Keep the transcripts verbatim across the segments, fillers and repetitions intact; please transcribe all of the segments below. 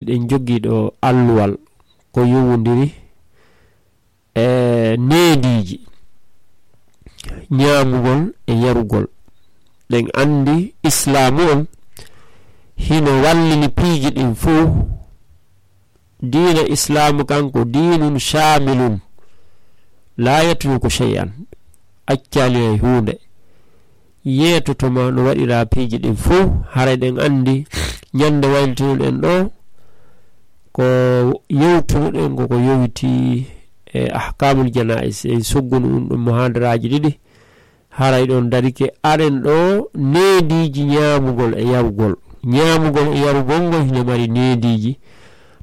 eɗen jogii ɗo alluwal ko yowondiri e neediiji ñaamugol e yarugol. Ɗen anndi Islaamu on hino wallini piiji ɗin fow. Diina Islaamu kan ko diinun shaamilun, laa yatruku shay'an, accaali hay huunde. Yeetotoma no waɗiraa piiji ɗin fow. Haray ɗen anndi ñande waylitunoɗen ɗo ko yewtunoɗen ko ko yowiti e ahkaamul janaa'is, en soggunu ɗum ɗum muhaadaraaji ɗiɗi. Haray ɗon darike aɗen ɗo neediiji ñaamugol e yarugol. Ñaamugol e yarugol ngol hino mari neediiji.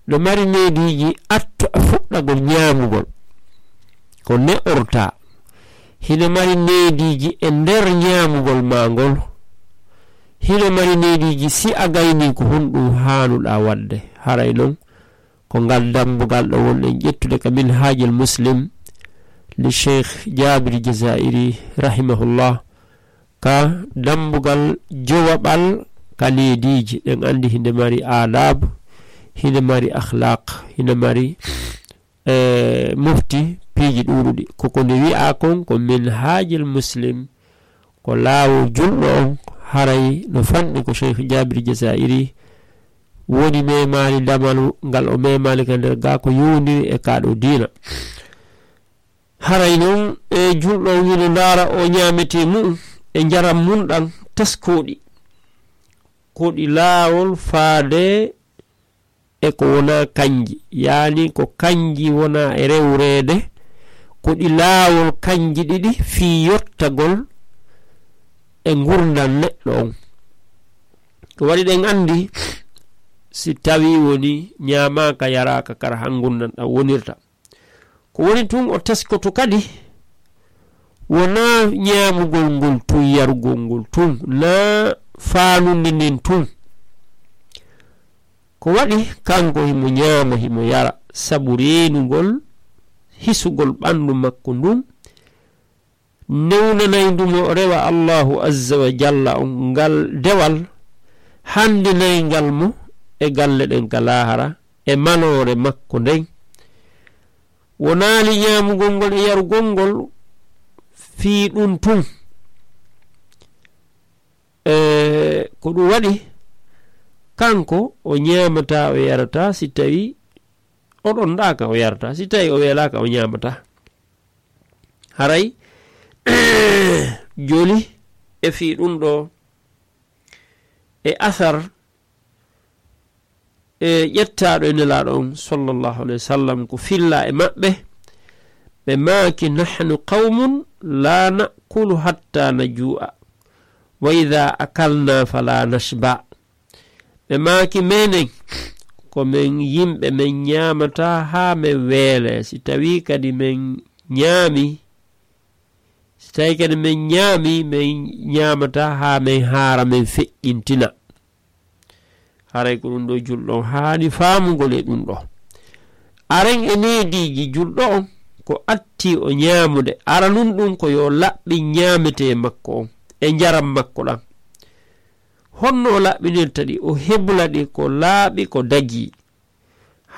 No mari neediiji atto a fuɗɗagol ñaamugol. Ko ne'ortaa. Hino mari neediiji e nder ñaamugol maa ngol. Hino mari neediiji si a gaynii ko honɗum haanuɗaa waɗde. Haray non ko ngal dambugal ɗo wonɗen ƴettude ka Minhajul Muslim li Cheikh Jabir Jazairi rahimahullah, ka dambugal jowaɓal ka neediiji. Ɗen anndi hinde mari adab, hinde mari akhlaq, hinde mari, eh, mofti piiji ɗuuɗuɗi. Ko ko nde wi'a kon ko Minhajul Muslim, ko laawol julɗo on, haray no fanɗi ko Cheikh Jabir Jazairi woni memaali damalu ngal o memaali ka nder gaa ko yowondiri e kaa ɗo diina. Haray non e julɗo on hino ndaara o ñaametee mu'un e njaram mun ɗan teskooɗi. Ko ɗi laawol faade e ko wonaa kanji, yaani ko kanji wonaa e rewreede, ko ɗi laawol kanji ɗiɗi fii yottagol e ngurndan neɗɗo on. Ko waɗi ɗen anndi si tawii woni ñaamaaka yaraaka kara han ngurndan ɗan wonirta. Ko woni tun o teskoto kadi wonaa ñaamugol ngol tun, yarugol ngol tun, naa faanundi ndin tun. Ko waɗi kanko himo ñaama, himo yara, sabu reenugol, hisugol ɓandu makko ndun, newnanay ndu mo o rewa Allahu Azza wa Jalla on ngal dewal, handinay ngal mo e galle ɗen ka laahara, e maloore makko nden. Wonaali ñaamugol ngol e yarugol ngol fii ɗun tun. E, ko ɗun waɗi, kanko o ñaamataa, o yarataa, si tawii o ɗonɗaaka, o yarataa, si tawii o weelaaka, o ñaamataa. Haray, joli e fii ɗun ɗo, e asar, e ƴettaaɗo e Nelaaɗo on, sallallahu alayhi wa sallam, ko fillaa e maɓɓe, ɓe maaki, "Nahnu qawmun la na'kulu hatta najuu'a, wa idha akalna fala nashba." Ɓe maaki, "Menen, ko men yimɓe, men ñaamataa haa men weelee. Si tawii kadi men ñaami, si tawii kadi men ñaami, men ñaamataa haa men haara, men feƴƴintina." Haray ko ɗun ɗo julɗo on haani faamugol e ɗun ɗo. Aren e neediiji julɗo on ko atti o ñaamude. Aranun ɗun ko yo laɓɓin ñaametee makko on e njaram makko ɗan. Honno o laɓɓinirta ɗi? O hebula ɗi ko laaɓi, ko dagii.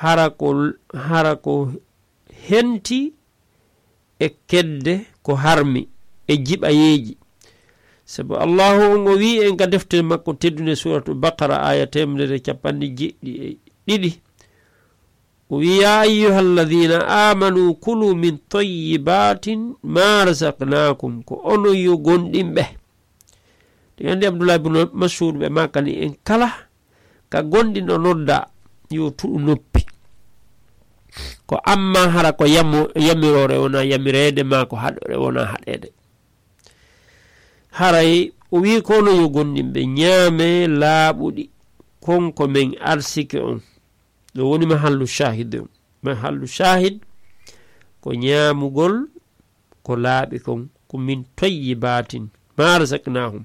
Hara ko, hara ko henti e kedde ko harmi e jiɓayeeji. Sabu Allahu on o wi'i en ka deftere makko teddunde, Suuratu Baqara, aaya teemedere e capanɗe jeeɗiɗi e ɗiɗi. O wi'i, "Ya ayyuhalladhina amanu kulu min tayyibatin ma razaqnakum." Ko onon yo gomɗinɓe. Ɗi anndi Abdullah ibn Mas'ud ɓe maakani en kala ka gomɗinɗo nodda yo tuɗu noppi. Ko amma hara ko yamo-, yamiroore wona yamireede maa ko haɗore wona haɗeede. Haray o wi'i ko onon yo gomɗinɓe ñaame laaɓuɗi kon ko men arsike on. Ɗo woni mahallu shahid on. Mahallu shahid ko ñaamugol ko laaɓi kon, ko min tayyibatin ma razaqnahum.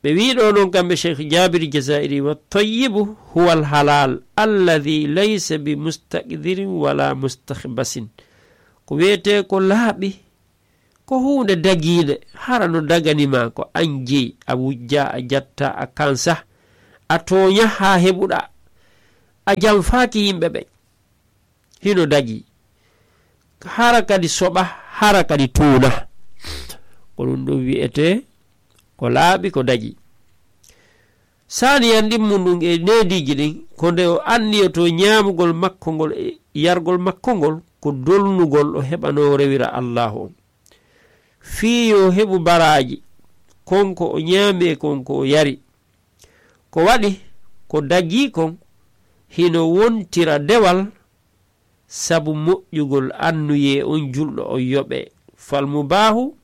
Ɓe wi'i ɗo non kamɓe Cheikh Jabir Jazairi, "Wa tayyibu huwa al halal alladhi laysa bi mustaqdirin wala mustakhbasin." Ko wi'etee ko laaɓi, ko huunde dagiinde, hara no dagani ma ko an jeyi, a wujja, a jatta, a kansa, a tooña haa heɓuɗa. A janfaaki yimɓe ɓen. Hino dagii. Hara kadi soɓa, hara kadi tuuna. Ko ɗum ɗum wi'etee ko laaɓi, ko dagii. Saaniyan ɗimmun ɗum e neediiji ɗin, ko nde o anniyotoo ñaamugol makko ngol e yargol makko ngol, ko dolnugol o heɓanoo rewira Allaahu on. Fii yo heɓu baraaji, kon ko o ñaami e kon ko o yari. Ko waɗi, ko dagii kon, hino wontira dewal, sabu moƴƴugol annuyee on julɗo on yoɓee. Fal mubaahu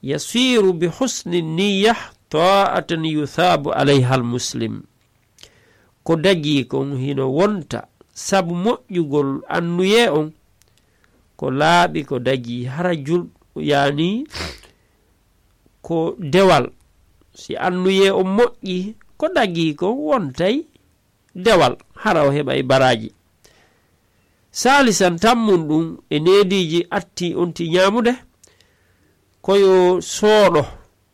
yasiiru bi husni niyya taa'atan yusaabu alayha al muslim. Ko dagii kon hino wonta sabu moƴƴugol annuyee on, ko laaɓi ko dagii hara julɗo, yaani ko dewal. Si annuyee on moƴƴi, ko dagii kon wontay dewal, hara o heɓay baraaji. Saalisan tammun ɗum e neediiji atti on ti ñaamude, ko yo sooɗo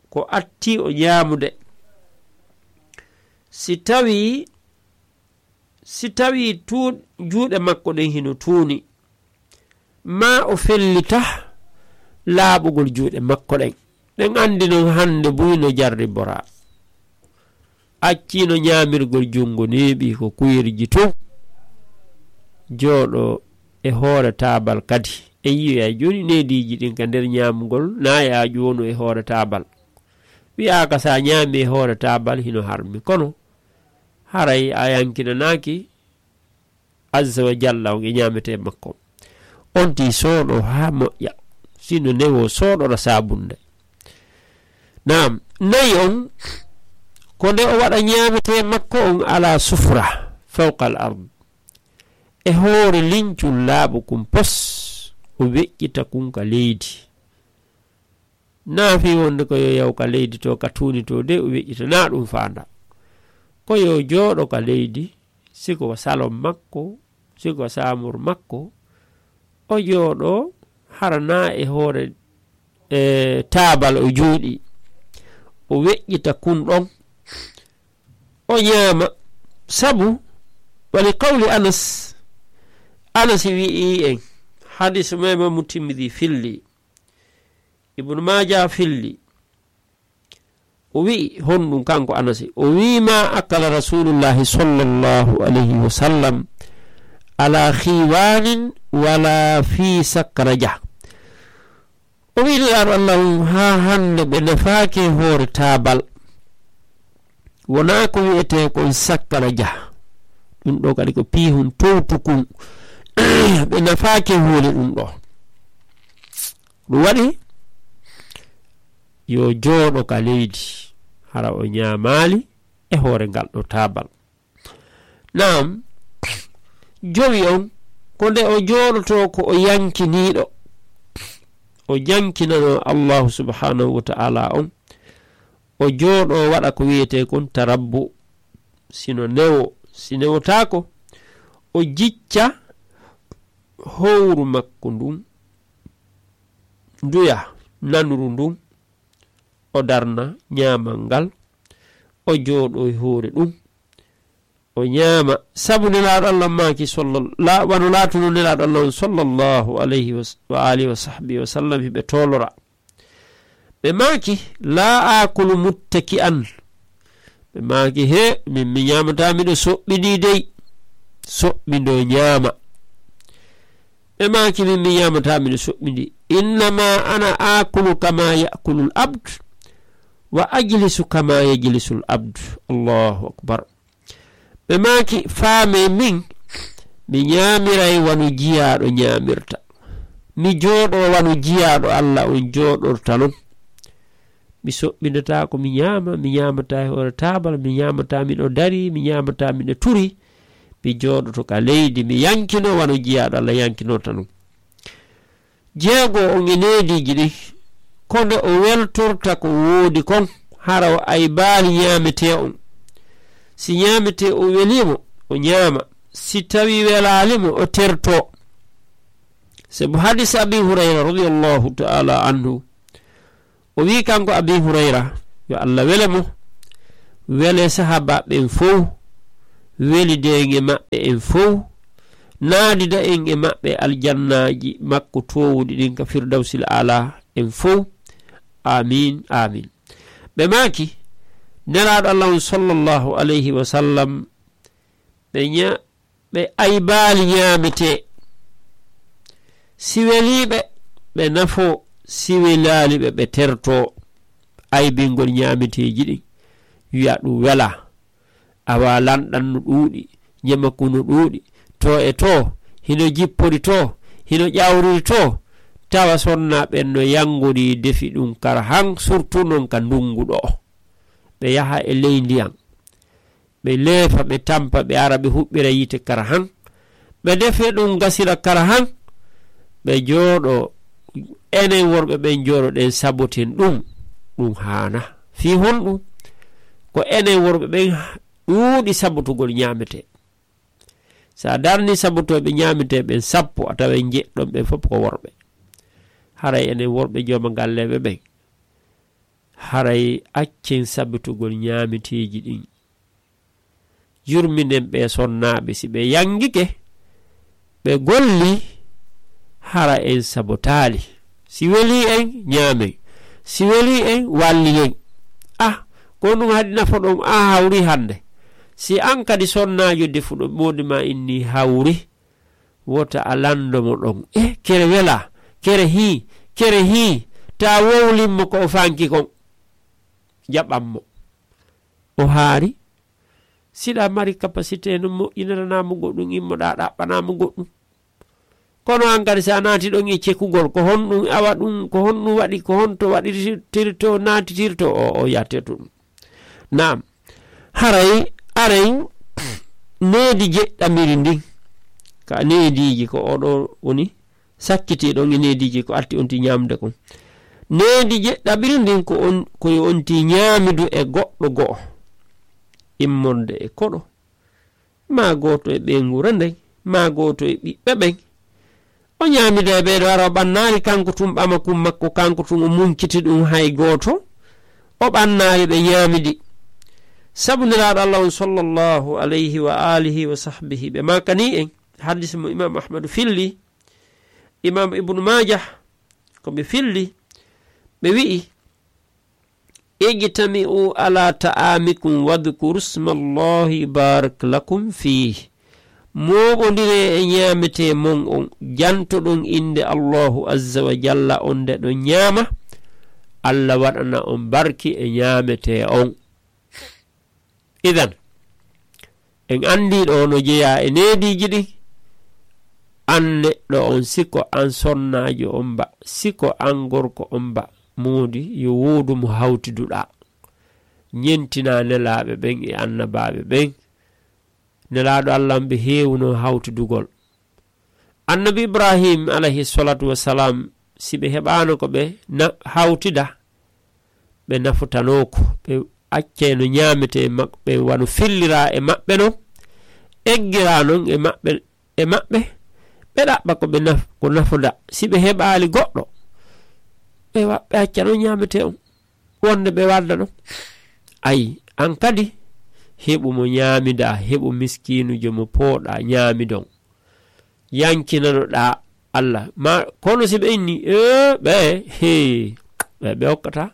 ko atti o ñaamude. Si tawii, si tawii tuu-, juuɗe makko ɗen hino tuuni, maa o fellita laaɓugol juuɗe makko ɗen. Ɗen anndi non hannde buy no jarriboraa. Acciino ñaamirgol junngo neeɓi ko kuyerji tun. Jooɗo e hoore taabal kadi. En yi'ay jooni neediiji ɗin ka nder ñaamugol, na e aaju wonu e hoore taabal. Wi'aaka sa ñaami e hoore taabal hino harmi. Kono haray a yankinanaaki Azza wa Jalla on e ñaametee makko. On tii sooɗo haa moƴƴa. Sino newoo sooɗora saabunde. Naam, nayi on, ko nde o waɗa ñaametee makko on ala sufra, fawqa al ard. E hoore lincun laaɓu kun pos, o weƴƴita kun ka leydi. Naa fii wonde ko yo yaw ka leydi to, ka tuuni to de, o weƴƴita, naa ɗum faanda. Ko yo jooɗo ka leydi, si ko salon makko, si ko saamur makko, o jooɗo hara naa e hoore, e taabal o jooɗi. O weƴƴita kun ɗon, o ñaama. Sabu, wali qawli Anas, Anas wi'i en, hadis mo Imaamu Tirmidi filli, Ibnu Maaja filli. O wi'i, honɗum kanko Anasi? O wi'i, "Ma akala Rasulullahi sallallahu alayhi wa sallam ala khiwanin wala fi sakraja." O wi'i, Nulaaɗo Allah on, haa hannde ɓe nafaaki e hoore taabal. Wonaa ko wi'etee kon sakkaraja. Ɗum ɗo kadi ko piihun towtukun. Ɓe nafaaki e hoore ɗum ɗo. Ɗum waɗi yo jooɗo ka leydi, hara o ñaamaali e hoore ngal ɗo taabal. Naam, jowi on, ko nde o jooɗotoo ko o yankiniiɗo, o jankinanoo Allahu subhanahu wa ta'ala on, o jooɗoo waɗa ko wiyetee kon tarabbu, sino newo, si newotaako, o jicca howru makko ndun, nduya nanuru ndun, o darna ñaamal ngal, o jooɗo e hoore ɗum, o ñaama. Sabu Nelaaɗo Allah maaki, sallal-, la-, wano laatuno Nelaaɗo Allah on, sallallahu alayhi wa s-, wa alihi wa sahbihi wa sallam, hiɓe toolora. Ɓe maaki, "La aakulu muttaki'an." Ɓe maaki, "He, min mi ñaamataa miɗo soɓɓindii dey. Soɓɓindoo ñaama." Ɓe maaki, "Min mi ñaamataa miɗo soɓɓindii. Innama ana aakulu kama ya'kulul abd, wa ajlisu kama yajlisul abd." Allahu akbar. Ɓe maaki, "Faamee min, mi ñaamiray wano jiyaaɗo ñaamirta. Mi jooɗoo wano jiyaaɗo Allah on jooɗorta non. Mi soɓɓindataa ko mi ñaama, mi ñaamataa e hoore taabal, mi ñaamataa miɗo darii, mi ñaamataa miɗo turii. Mi jooɗoto ka leydi, mi yankinoo wano jiyaaɗo Allah yankinorta non." Jeego on e neediiji ɗin, ko nde o weltorta ko woodi kon, hara o aybaali ñaametee on. Si ñaametee on welii mo, o ñaama. Si tawii welaali mo, o tertoo. Sabu hadis Abi Hurayra radiyallahu ta'ala anhu, o wi'i kanko Abi Hurayra, yo Allah wele mo, wele sahaabaaɓe ɓen fow, welida en e maɓɓe en fow, naadida en e maɓɓe aljannaaji makko toowuɗi ɗin ka Firdawsil Aala en fow. Aamiin, aamiin. Ɓe maaki, Nelaaɗo Allah on sallallahu alayhi wa sallam, ɓe ña-, ɓe aybaali ñaametee. Si welii ɓe, ɓe nafoo, si welaali ɓe, ɓe tertoo. Aybingol ñaameteeji ɗin, wi'a ɗum welaa. Awa lanɗan no ɗuuɗi, ñamaku no ɗuuɗi, too e too, hino jippori too, hino ƴawriri too, tawa sonnaa ɓen no yanngorii defi ɗum kara han, surtout non ka ndunngu ɗoo. Ɓe yaha e ley ndiyan, ɓe leefa, ɓe tampa, ɓe ara, ɓe huɓɓira yiite kara han, ɓe defe ɗum gasira kara han, ɓe jooɗo, enen worɓe ɓen jooɗo ɗen saboten ɗum, ɗum haana. Fii honɗum? Ko enen worɓe ɓen ɗuuɗi sabotugol ñaametee. Sa darni sabotooɓe ñaametee ɓen sappo, a taway njeɗɗon ɓen fof ko worɓe. Haray enen worɓe jooma galleeɓe ɓen, haray accen sabotugol ñaameteeji ɗin. Yurminen ɓee sonnaaɓe, si ɓe yanngike, ɓe golli, hara en sabotaali. Si welii en, ñaamen. Si welii en, wallilen. Ah, ko ɗum haɗi nafoɗon, a hawri hannde. Si an kadi sonnaajo defuɗo moodi ma inni hawri, wota a lanndo mo ɗon. Eh, kere welaa, kere hii, kere hii, ta wowlin mo ko o fanki kon. Jaɓan mo. O haari, siɗa mari capacité no moƴƴiniranaa mo goɗɗum, immoɗaa ɗaɓɓanaa mo goɗɗum. Kono an kadi, si a naati ɗon e cekugol, ko honɗum awa ɗum, ko honɗum waɗi, ko honto waɗitirto, naatitirto, o, o yahtirto ɗum. Naam, haray, aray, needi jeɗɗamiri ndin, ka neediiji ko oɗo woni sakkiti ɗon e neediiji ko arti on ti ñaamde kon. Needi jeɗɗamiri ndin ko on, ko yo on ti ñaamidu e goɗɗo go'o, immorde e koɗo, maa gooto e ɓeynguure nden, maa gooto e ɓiɓɓe ɓen. O ñaamida e ɓeeɗo, hara o ɓannaali kanko tun ɓamakun makko, kanko tun o munciti ɗum hay gooto, o ɓannaali ɓe ñaamidi. Sabu Nelaaɗo Allah on sallallahu alayhi wa alihi wa sahbihi, ɓe maakani en, hadis mo Imam Ahmadu filli, Imam Ibnu Maajah ko ɓe filli, ɓe wi'i, "Ijtami'u ala ta'amikum wadhkuru smallahi barak lakum fih." Mooɓondiree e ñaametee mon on, jantoɗon innde Allahu azza wa jalla, on nde ɗon ñaama, Allah waɗana on barki e ñaametee on. Idan, en anndi ɗo no jeyaa e neediiji ɗin. An neɗɗo on, si ko an sonnaajo on ba, si ko an gorko on ba, moodi yo woodu mo hawtiduɗaa. Ñentinaa nelaaɓe ɓen e annabaaɓe ɓen. Nelaaɗo Allah on ɓe heewuno hawtidugol. Annabi Ibrahim alayhi salatu wassalam, si ɓe heɓaano ko ɓe na-, hawtida, ɓe nafotanoo ko, ɓe accay no ñaametee e maɓɓe, wano filliraa e maɓɓe non, eggiraa non e maɓɓe, e maɓɓe, ɓe ɗaɓɓa ko ɓe naf-, ko nafoda. Si ɓe heɓaali goɗɗo, ɓe wa-, ɓe acca non ñaametee on, wonde ɓe wadda non. Ayi, an kadi, heɓu mo ñaamidaa, heɓu miskiinujo mo pooɗaa ñaamidon. Yankinanoɗaa Allah. Ma, kono si ɓe inni, ee, ɓe, hee, ɓe, ɓe okkataa.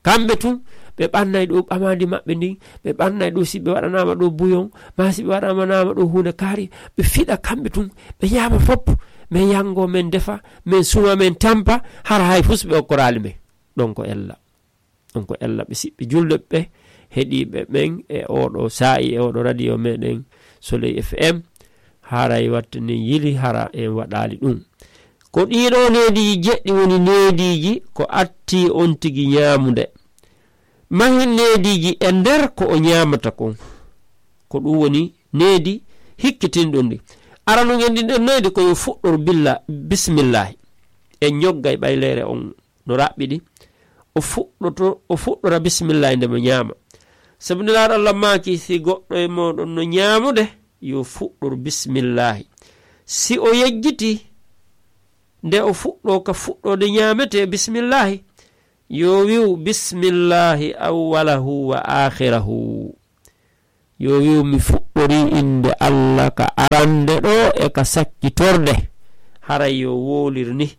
Kamɓe tun, ɓe ɓannay ɗo ɓamaandi maɓɓe ndin, ɓe ɓannay ɗo si ɓe waɗanaama ɗo buyon, maa si ɓe waɗanaama ɗo huunde kaari, ɓe fiɗa kamɓe tun, ɓe ñaama fop, men yango, men defa, men suma, men tampa, hara hay fus ɓe okkoraali men. Ɗon ko ella. Ɗon ko ella ɓe siɓɓe julɓe ɓe, heɗiiɓe ɓen e oɗo saa'i e oɗo radio meɗen Soleil F M, haray watte nen yili hara en waɗaali ɗum. Ko ɗiɗo neediiji jeɗɗi woni neediiji ko atti on tigi ñaamude. Mahin neediiji e nder ko o ñaamata kon. Ko ɗum woni needi hikkitinɗum ndi. Ara nun en ɗin ɗon needi ko yo fuɗɗor billa, bismillahi. En ñoggay ɓayleere on no raɓɓiɗi. O fuɗɗoto, o fuɗɗora bismillahi nde mo ñaama. Sabu Nelaaɗo Allah maaki, si goɗɗo e mooɗon no ñaamude, yo fuɗɗor bismillahi. Si o yejjiti, nde o fuɗɗo ka fuɗɗoode ñaamete bismillahi, yo wi'u bismillahi awwalahu wa aakhirahu. Yo wi'u mi fuɗɗo ɗaɓɓorii innde Allah ka arande ɗoo e ka sakkitorde, haray yo wowlir ni.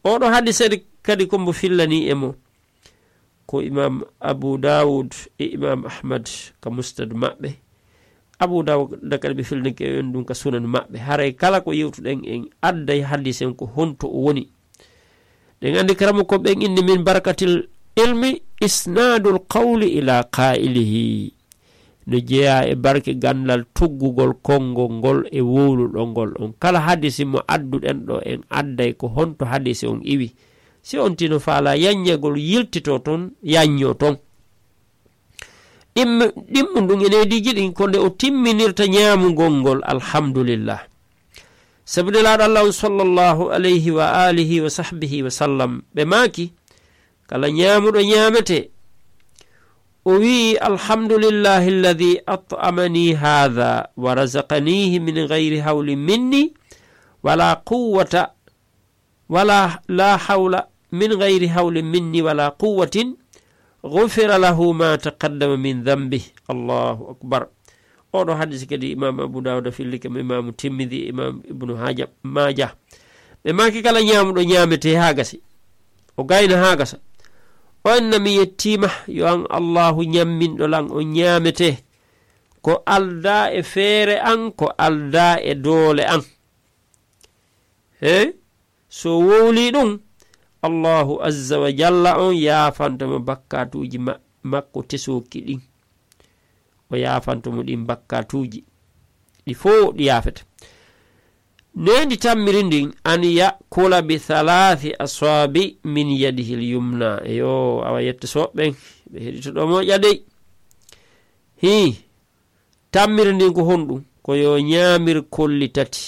Oɗo hadise kadi ko mbo fillanii e mo ko Imam Abu Dawud e Imam Ahmad ka Musnad maɓɓe. Abu Dawud kadi ɓe fillanii en ɗum ka Sunan maɓɓe. Haray kala ko yewtuɗen en adday hadisen ko honto o woni. Ɗen anndi karamoko ɓen inni min barakatil ilmi isnadul qawli ila qailihi. No jeyaa e barke ganndal tuggugol konngol ngol e wowluɗo ngol on. Kala hadisi mo adduɗen ɗo en adday ko honto hadisi on iwi. Si on tino faala yanñagol yiltito ton, yanño ton. Ɗimmu-, ɗimmu ndun e neediiji ɗin ko nde o timminirta ñaamugol ngol, alhamdulillah. Sabu Nelaaɗo Allah on sallallahu alayhi wa alihi wa sahbihi wa sallam, ɓe maaki, kala ñaamuɗo ñaamete, o wi'i, "Alhamdulillahi alladhi at'amani hadha wa razaqanihi min ghayri hawlin minni, wala quwwata, wala, la hawla, min ghayri hawlin minni wala quwwatin, ghufira lahu ma taqaddama min dhanbi." Allahu akbar. Oɗo hadisi kadi Imam Abu Dawud fillike mo, Imam Tirmidhi, Imam Ibnu Haja-, Majah. Ɓe maaki kala ñaamuɗo ñaamete haa gasi, o gayna haa gasa. O enna mi yettiima, yo an Allahu ñamminɗo lan o ñaamete. Ko aldaa e feere an, ko aldaa e doole an. He? So wowlii ɗum, Allahu azza wa jalla on yaafanto mo bakkaatuuji ma-, makko tesooki ɗin. O yaafanto mo ɗin bakkaatuuji. Ɗi fow ɗi yaafete. Neendi tammiri ndin, an ya'kula bi thalathi aswabi min yadihi l-yumna. Eyo, awa yetta soɓɓen, ɓe heɗito ɗo moƴƴa dey. Hii, tammiri ndin ko honɗum? Ko yo ñaamir kolli tati.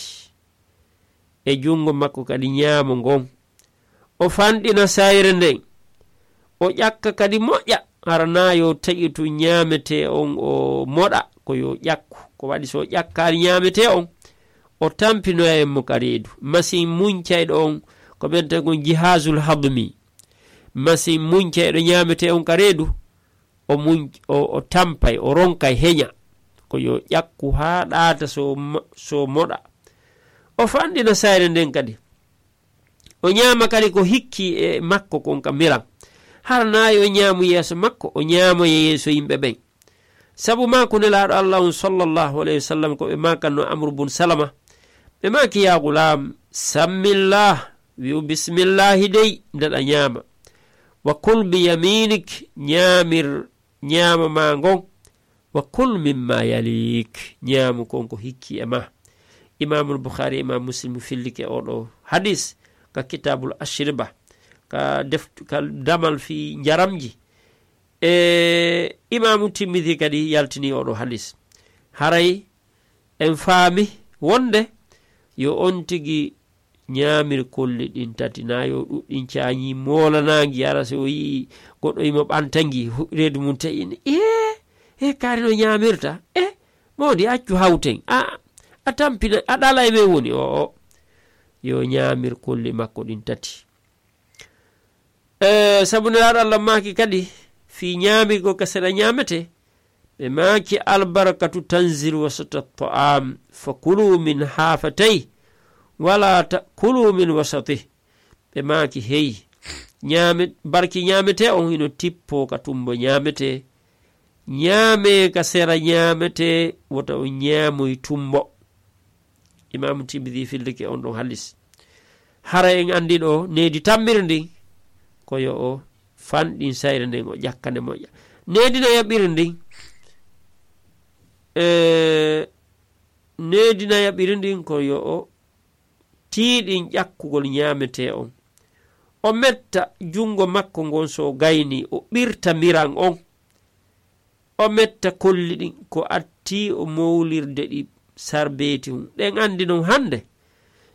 E junngo makko kadi ñaamo ngon. O fanɗina sayre nden. O ƴakka kadi moƴƴa. Hara naa yo taƴitu ñaametee on o moɗa, ko yo ƴakku. Ko waɗi so o ƴakkaali ñaametee on, o tampinoya en mo ka reedu. Masiŋ muñcayɗo on, ko ɓen tawi kon jihaasul hadmi. Masiŋ muñcayɗo ñaametee on ka reedu, o muñ-, o, o tampay, o ronkay heña. Ko yo ƴakku haa ɗaata so mo-, so moɗa. O fanɗina sayre nden kadi. O ñaama kadi ko hikki e makko kon ka miran. Hara naa yo ñaamu yeeso makko, o ñaamoya yeeso yimɓe ɓen. Sabu maa ko Nelaaɗo Allah on sallallahu alayhi wa sallam ko ɓe maakanno Amru bun Salama. Ɓe maaki, "Ya gulaam, sammillah, wi'u bismillahi dey, nde ɗa ñaama. Wa kul bi yaminik, ñaamir ñaama maa ngon. Wa kul mimma yalik, ñaamu kon ko hikki e maa." Imaamul Bukhari, Imaam Muslim fillike oɗo hadis ka Kitabul Ashriba, ka deft-, ka damal fii njaramji. E Imaamu Tirmidhi kadi yaltini oɗo hadis. Haray en faami wonde yo on tigi ñaamir kolli ɗin tati, naa yo ɗuɗɗin caañi moolanaangi, ara si o yi'i goɗɗo imo ɓanta ngi, hu-, reedu mum te'i ni, "Ee, ee, kaari no ñaamirta? Ee, moodi accu hawten, a, a tampina, a ɗala e men woni?" O, o, yo ñaamir kolli makko ɗin tati. E, sabu Nelaaɗo Allah maaki kadi, fii ñaamirgol ka seɗa ñaametee, ɓe maaki, "Albarakatu tanzilu wasata ta'am, fa kulu min hafatay, wala ta'kulu min wasatih." Ɓe maaki, "Hey, ñaame-, barki ñaametee on hino tippoo ka tumbo ñaametee. Ñaamee ka sera ñaametee, wota on ñaamoy tumbo." Imaamu Tirmidhi fillike on ɗon hadis. Hara en anndi ɗo needi tammiri ndin, ko yo o fanɗin sayre nden, o ƴakka nde moƴƴa. Needi nayaɓiri ndin, e, needi nayaɓiri ndin ko yo o tiiɗin ƴakkugol ñaametee on. O metta junngo makko ngon so gayni, o ɓirta miran on. O metta kolli ɗin ko atti o mowlirde ɗi sarbeeti hun. Ɗen anndi non hannde,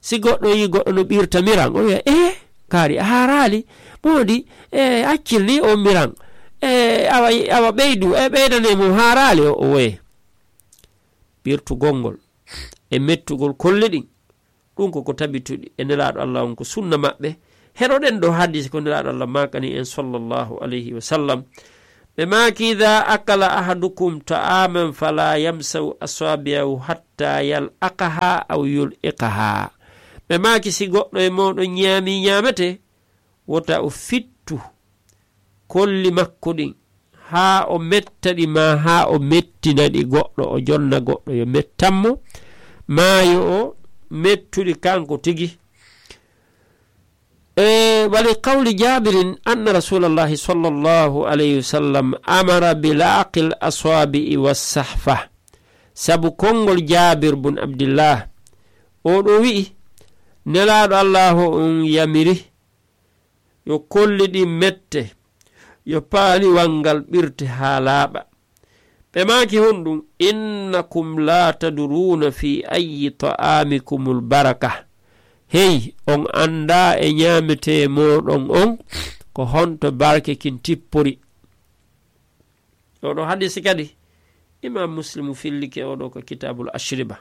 si goɗɗo yii goɗɗo no ɓirta miran, o wi'a, "Ee, kaari a haaraali, moodi, ee, accil ni on miran, ee, awa, awa ɓeydu, ee, ɓeydane mo haaraali o, o woye." Ɓirtugol ngol e mettugol kolli ɗin, ɗum ko ko tabituɗi e Nelaaɗo Allah on, ko sunna maɓɓe. Heɗoɗen ɗo hadis ko Nelaaɗo Allah maakani en sallallahu alayhi wa sallam. Ɓe maaki, "Idaa akala ahadukum ta'aaman falaa yamsahu asaabi'ahu hattaa yal'aqahaa aw yul'iqahaa." Ɓe maaki, "Si goɗɗo e mooɗon ñaami ñaamete, wota o fittu kolli makko ɗin, haa o metta ɗi, maa haa o mettina ɗi goɗɗo, o jonna goɗɗo yo mettan mo, maa yo o mettu ɗi kanko tigi." E, wali qawli Jaabirin anna Rasuulallahi sallallahu alayhi wa sallam amara bi la'qil asaabi'i was sahfa. Sabu konngol Jaabir bun Abdillah, oo ɗoo wi'i, Nelaaɗo Allaahu on yamiri, yo kolli ɗin mette, yo paaliwal ngal ɓirte haa laaɓa. Ɓe maaki, "Honɗum? Innakum laa tadruuna fi ayyi ta'aamikumul baraka." Hey, on anndaa e ñaametee mooɗon on ko honto barke kin tippori. Oɗo hadisi kadi, Imam Muslimu fillike oɗo ko Kitabul Ashriba.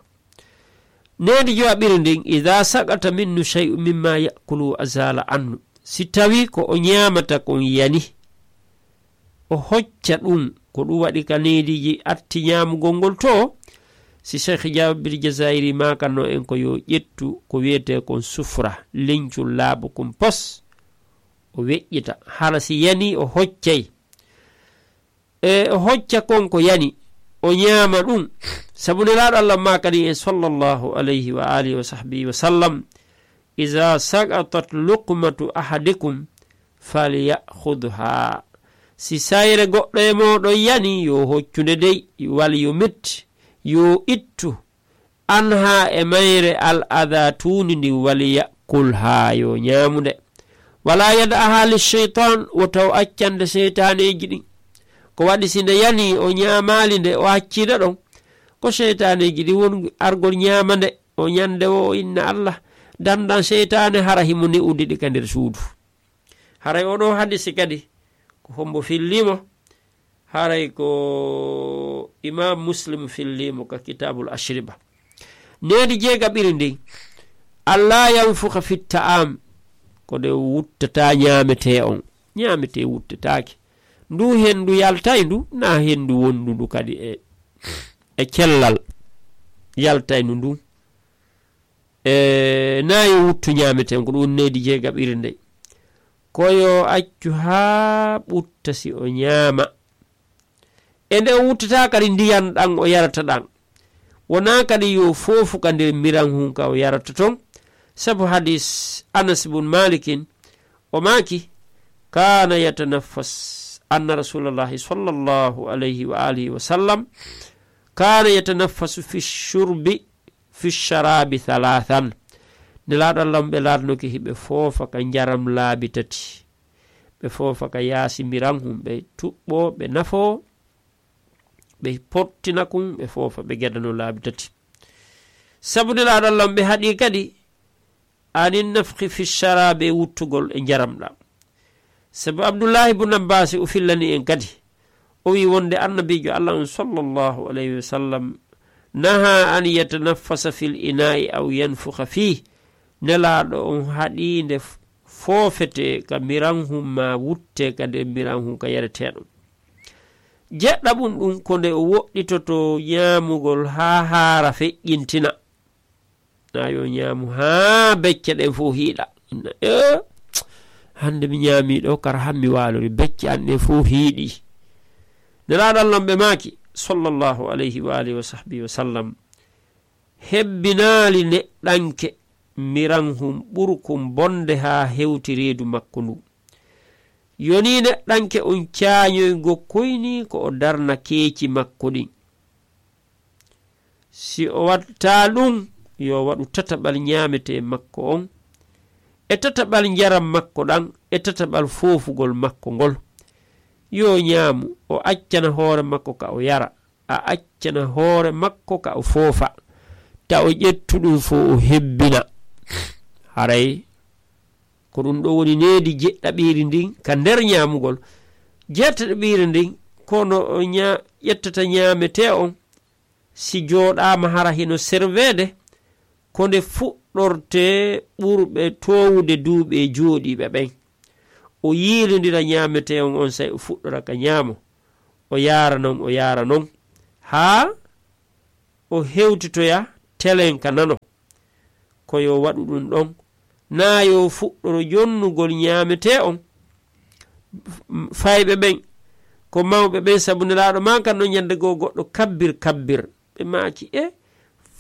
Needi jowaɓiri ndin, "Idaa saqata minhu shay'un mimma ya'kulu azala anhu." Si tawi ko o ñaamata kon yani, o hocca ɗum, ko ɗum waɗi ka neediji atti ñaamugol ngol to, si Cheikh Jabir Jazairi maakano en ko yo ƴettu ko wiyetee kon sufra, leñcol laaɓo kon pos, o weƴƴita. Hara si yani o hoccay, e o hocca kon ko yani, o ñaama ɗum. Sabu Nelaaɗo Allah maakani en sallallahu alayhi wa alihi wa sahbihi wa sallam, "Iza saqatat luqmatu ahadikum falyakhudha." Si sayre goɗɗo e mooɗon yani, yo hoccu nde dey, wal yo metti, yo ittu, anha e mayre al adha tuundi ndin, wal ya'kul, haa yo ñaamu nde. Wala yad'aha li shaytan, wota o accande seytaaneeji ɗin. Ko waɗi si nde yani o ñaamaali nde, o accii nde ɗon, ko seytaaneeji ɗin woni argol ñaama nde, o ñande o, o inna Allah, dandan seytaane hara himo ne'ude ɗi ka nder suudu. Haray oɗo hadisi kadi, ko hombo fillimo? Haray ko Imam Muslim fillimo ka Kitabul Ashriba. Needi jeegaɓiri ndin, "Alla yanfukha fit ta'am," ko nde wuttata ñaametee on. Ñaametee wuttataake. Ndu hendu yaltay ndu, na hendu wondu ndu kadi e, e cellal yaltay ndu ndu. E, na yo wuttu ñaametee on, ko ɗum needi jeegaɓiri ndin. Ko yo accu haa ɓutta si o ñaama. E nde o wuttata kadi ndiyan ɗan o yarata ɗan. Wonaa kadi yo foofu ka nder miran hun ka o yarata ton. Sabu hadis Anas bun Malikin, o maaki, "Kana yatanaffas, anna Rasulallahi sallallahu alayhi wa alihi wa sallam kana yatanaffasu fi shurbi, fi sharabi thalathan." Nelaaɗo Allah ɓe laatnoke hiɓe foofa ka njaram laabi tati. Ɓe foofa ka yaasi miran hun, ɓe tuɓɓo, ɓe nafo, ɓe pottina kun, ɓe foofa, ɓe gedano laabi tati. Sabu Nelaaɗo Allah ɓe haɗi kadi, anin nafqi fi sharabi, e wuttugol e njaram ɗan. Sabu Abdullahi ibn Abbas o fillani en kadi, o wi wonde Annabiijo Allah on sallallahu alayhi wa sallam naha an yatanaffasa fil ina'i aw yanfukha fih. Nelaaɗo on haɗi nde f-, foofete ka miran hun ma wutte ka nder miran hun ka yareteeɗo. Jeɗɗaɓun ɗun ko nde o woɗɗitoto ñaamugol haa haara feƴƴintina. Na yo ñaamu haa becce ɗen fof hiiɗa. Inna, "Eh, hannde mi ñaami ɗo, kara han mi waalori, becce an ɗen fof hiiɗi." Nelaaɗo Allah ɓe maaki, sallallahu alayhi wa alihi wa sahbihi wa sallam, hebbinaali neɗɗanke miran hun ɓurkun bonde haa hewti reedu makko ndu. Yoni neɗɗanke on caañoygo koyni ko o darna keeci makko ɗin. Si o waɗtaa ɗum, yo waɗu tataɓal ñaametee makko on, e tataɓal njaram makko ɗan, e tataɓal foofugol makko ngol. Yo ñaamu, o accana hoore makko ka o yara, a accana hoore makko ka o foofa, ta o ƴettu ɗum fof o hebbina. Haray ko ɗum ɗo woni needi jeɗɗaɓiiri ndin ka nder ñaamugol. Jeɗɗaɓiiri ndin, kono o ña-, ƴettata ñaametee on, si jooɗaama hara hino serveede, ko nde fuɗɗortee ɓurɓe toowude duuɓi e jooɗiiɓe ɓen. O yiilondira ñaametee on, on say o fuɗɗora ka ñaamo. o yaara non, o yaara non, haa o hewtitoya telenka nano. Ko yo waɗu ɗum ɗon, naa yo fuɗɗoro jonnugol ñaametee on. Fayɓe ɓen ko mawɓe ɓen, sabu Nelaaɗo maaki non ñande goo goɗɗo: "Kabbir, kabbir." Ɓe maaki: "E,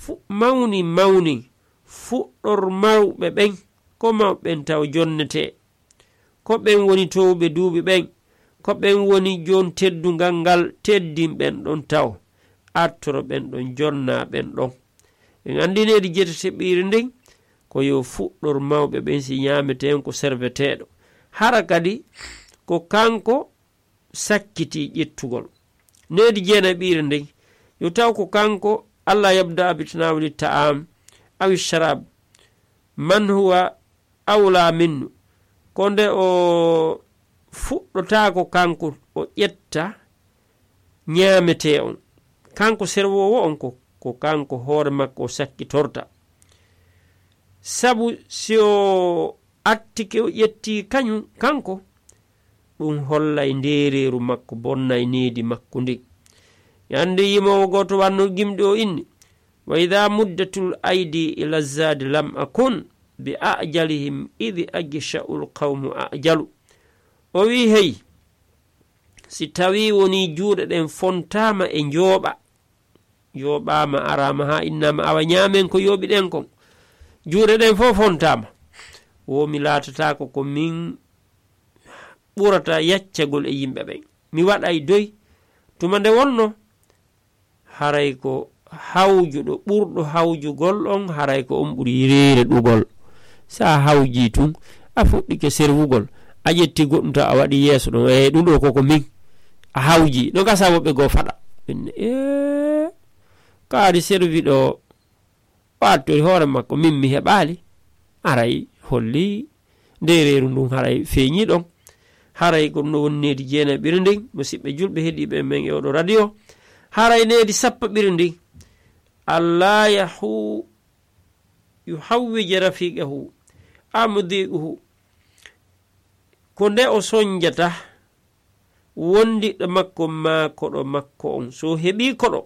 fu-, mawni, mawni, fuɗɗor mawɓe ɓen, ko mawɓe ɓen taw jonnetee. Ko ɓen woni toowɓe duuɓi ɓen, ko ɓen woni joon teddungal ngal, teddin ɓen ɗon taw, artoro ɓen ɗon, jonna ɓen ɗon." En anndi needi jeetati ɓiiri ndin, ko yo fuɗɗor mawɓe ɓen si ñaametee on ko serveteeɗo. Hara kadi ko kanko sakkiti ƴettugol. Needi jeenayi ɓiiri ndin, yo taw ko kanko: "Alla yabda bi tanawuli ta'am awi sharab man huwa awla minnu." Ko nde o fuɗɗotaako kanko o ƴetta ñaametee on. Kanko serwoowo on ko, ko kanko hoore makko o sakkitorta. Sabu si o attike o ƴetti kañum kanko, ɗum hollay ndeereeru makko, bonnay needi makko ndin. Ñande yimoowo gooto wanno gimɗi o inni: "Wa idha muddatul aydi ila zadi lam akun bi ajalihim idh agsha'ul qawmu ajalu." O wi: "Hey, si tawi woni juuɗe ɗen fontaama e njooɓa, yooɓaama, araama haa innaama, awa ñaamen ko yooɓi ɗen kon, juuɗe ɗen fof fontaama, wo mi laatataako ko min ɓurata yaccagol e yimɓe ɓen. Mi waɗay doy." Tuma nde wonno, haray ko hawjuɗo, ɓurɗo hawjugol on, haray ko on ɓuri reere ɗugol. Sa hawji tun, a fuɗɗike serwugol, a ƴetti goɗɗum taw a waɗi yeeso ɗon, e ɗum ɗo koko min. A hawji, no gasa woɓɓe goo faɗa. Ɓen, ee, kaari serwi ɗo, o attori hoore makko, min mi heɓaali. Haray holli ndeereeru ndun haray feeñi ɗon. Haray ko ɗum ɗo woni needi jeenayi ɓiri ndin, musiɓɓe julɓe heɗiiɓe men e oɗo radio. Haray needi sappo ɓiri ndin, "Alla yahu-, yuhawwija rafiqahu, amudiquhu." Ko nde o sonjata wondiɗɗo makko maa koɗo makko on. So heɓii koɗo,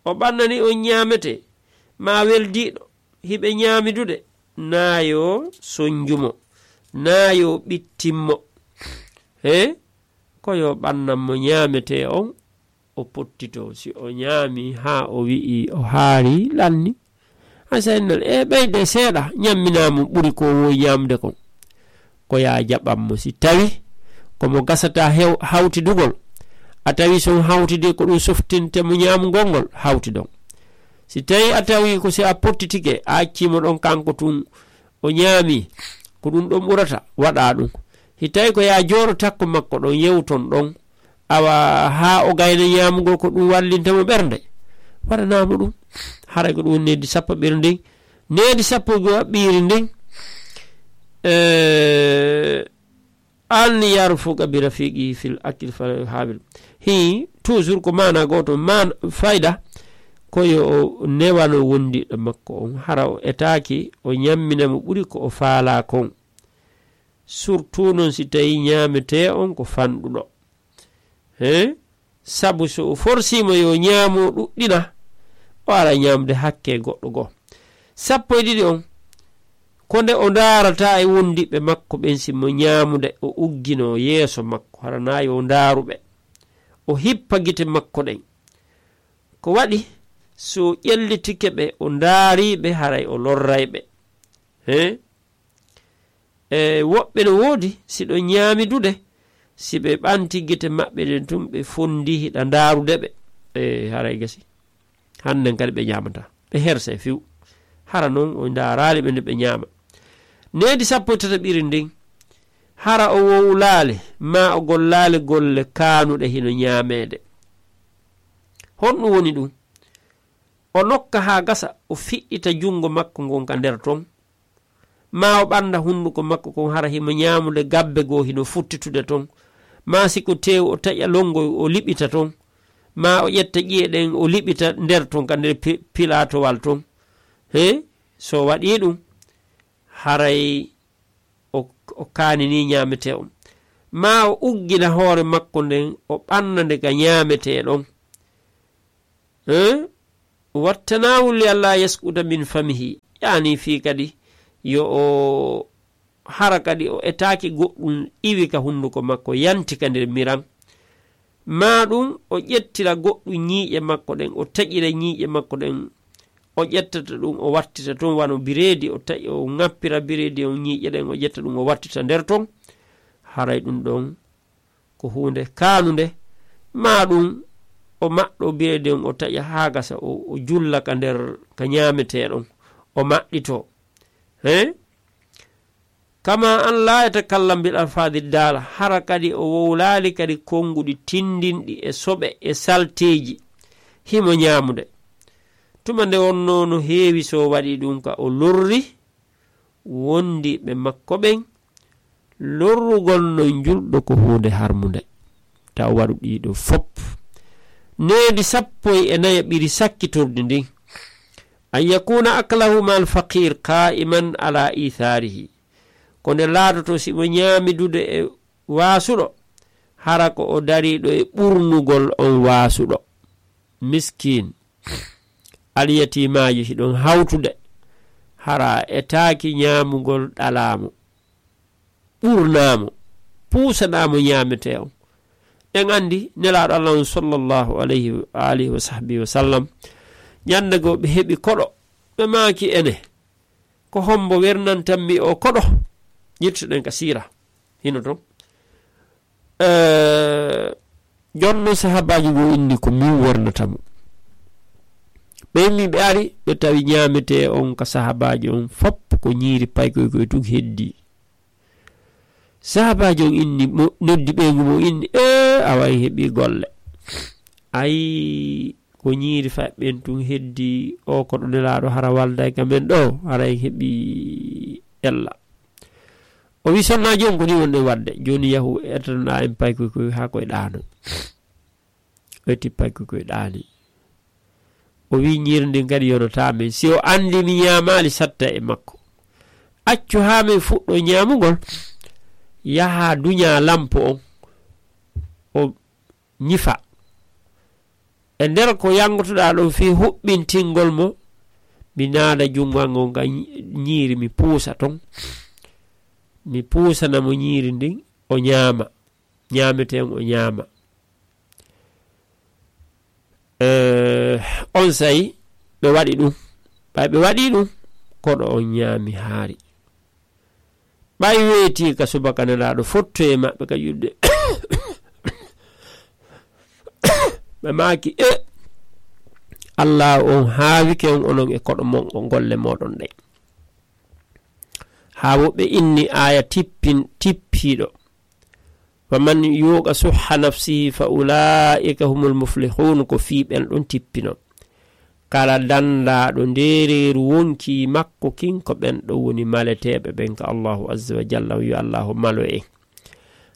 o ɓannanii on ñaametee maa weldiiɗo, hiɓe ñaamidude, naa yo sonju mo, naa yo ɓittin mo. He? Ko yo ɓannan mo ñaametee on, o pottitoo. Si o ñaami haa o wi'i o haari, lanni. A saynal e ɓeyde seeɗa, ñamminaa mo ɓuri ko o wowi ñaamde kon. Ko yaa jaɓan mo. Si tawi ko mo gasata hew-, hawtidugol, a tawi si on hawtidi ko ɗum softinte mo ñaamugol ngol, hawtidon. Si tawi a tawi ko si a pottitike, a accii mo ɗon kanko tun, o ñaami, ko ɗum ɗon ɓurata, waɗa ɗum. Si tawi ko yaa jooɗo takko makko ɗon, yewton ɗon, awa haa o gayna ñaamugol ko ɗum wallinta mo ɓernde, waɗanaa mo ɗum. Haray ko ɗum woni needi sappo ɓiri ndin. Needi sappo e goo ɓiri ndin, eh, an yarfuqa bi rafiqi fil akil fa hawil. Hi, toujours ko maana gooto, maan fayda, ko yo o newano wondiɗɗo makko on, hara o etaaki, o ñammina mo ɓuri ko o faalaa kon. Surtout non si tawi ñaametee on ko fanɗuɗo. He? Sabu so o forsiima yo ñaamo ɗuɗɗina, o ara ñaamde hakke goɗɗo goo. Sappo e ɗiɗi on, ko nde o ndaarata e wondiɓɓe makko ɓen, si mo ñaamude, o ugginoo yeeso makko, hara naa yo o ndaaru ɓe. O hippa gite makko ɗen. Ko waɗi, so o ƴellitike ɓe, o ndaarii ɓe, haray o lorray ɓe. He? E woɓɓe no woodi, si ɗo ñaamidude, si ɓe ɓanti gite maɓɓe ɗen tun, ɓe fondi hiɗa ndaarude ɓe. E haray gasi. Hannden kadi ɓe ñaamataa. Ɓe herse few. Hara non o ndaaraali ɓe nde ɓe ñaama. Needi sappo e tataɓiri ndin, hara o wowlaali, maa o gollaali golle kaanuɗe hino ñaameede. Honɗum woni ɗum? O nokka haa gasa, o fiɗɗita junngo makko ngon ka nder ton. Maa o ɓannda hunnduko makko kon, hara himo ñaamude gabbe goo hino futtitude ton. Maa si ko teewu, o taƴa lonngoy, o liɓita ton. Maa o ƴetta ƴi'e ɗen, o liɓita nder ton, ka nder pi-, pilaatowal ton. He? So waɗii ɗum, haray o, o kaaninii ñaametee on. maa o uggina hoore makko nden, o ɓanna nde ka ñaametee ɗon. Eh? Wattanaahu li alla yaskuta min famihi, yaani fii kadi yo o hara kadi o etaaki goɗɗum iwi ka hunnduko makko, yanti ka nder miran. Maa ɗum o ƴettira goɗɗum ñiiƴe makko ɗen, o taƴira ñiiƴe makko ɗen, o ƴettata ɗum, o wattita ton wano bireedi, o taƴ-, o ŋappira bireedi on ñiiƴe ɗen, o ƴetta ɗum, o wattita nder ton. Haray ɗum ɗon ko huunde kaanunde. Maa ɗum o maɗɗo bireedi on, o taƴa haa gasa, o, o julla ka nder ka ñaametee ɗon, o maɗɗitoo. He? Kama an laa yatakallam bil alfaadi daala, hara kadi o wowlaali kadi konnguɗi tinndinɗi e soɓe e salteeji, himo ñaamude. Tuma nde wonnoo no heewi so waɗi ɗum ka o lorri wondiiɓe makko ɓen, lorrugol non julɗo ko huunde harmunde. Taw waɗu ɗiɗo fop. Needi sappo e nayo ɓiri sakkitordi ndin. An yakuna aklahu ma alfaqir qa'iman ala itharihi. Ko nde laatoto si mo ñaamidude e waasuɗo, hara ko o dariiɗo e ɓurnugol on waasuɗo. Miskin, alyatimaaji hiɗon hawtude, hara etaaki ñaamugol ɗalaamo, ɓurnaamo, puusanaamo ñaametee on. En anndi Nelaaɗo Allah on sallallahu alayhi wa alihi wa sahbihi wa sallam, ñande goo ɓe heɓi koɗo, ɓe maaki ene, ko hombo wernantan mi o koɗo? Yettuɗen ka siira hino ton. Eh, jonno sahabaaji goo inni ko min wernata mo. Ɓe immi ɓe ari, ɓe tawi ñaametee on ka sahabaaji on fop ko ñiiri paykoy koy tun heddi. Sahabaaji on inni mo, noddi ɓeyngu mo inni, "Ee, awa en heɓi golle. Ay, ko ñiiri faɓɓen tun heddi o koɗo Nelaaɗo hara walday ka men ɗo, hara en heɓi ella." O wi, "Sonnaajo on, ko ni wonɗen waɗde? Jooni yahu etanoɗaa en paykoy koy haa koy ɗaano." O eti paykoy koy ɗaani. O wi, "Ñiiri ndin kadi yonataa men. Si o anndi mi ñaamaali satta e makko. Accu haa men fuɗɗo ñaamugol, yaha duña lampo on." O ñifa. E nder ko yanngotoɗaa ɗon fii huɓɓintingol mo, mi naada junngo an ngon ka ñi-, ñiiri, mi puusa ton. Mi puusana mo ñiiri ndin, o ñaama. Ñaametee on, o ñaama. Eh, onsay ɓe waɗi ɗum. Ɓay ɓe waɗi ɗum, koɗo on ñaami haari. Ɓay weetii ka subaka Nelaaɗo fottoye maɓɓe ka ƴuɗde. Ɓe maaki, "E, Allaahu on haawike on onon e koɗo mon o golle mooɗon ɗen." Haa wo ɓe inni aaya tippin-, tippiiɗo. "Wa man yuuqa suhha nafsihi fa ulaa'ika humul muflihun", ko fii ɓen ɗon tippino. Kala dandaaɗo ndeereeru wonkii makko kin, ko ɓen ɗon woni maleteeɓe ɓen ka Allaahu azza wa jalla, yo Allaahu malo en.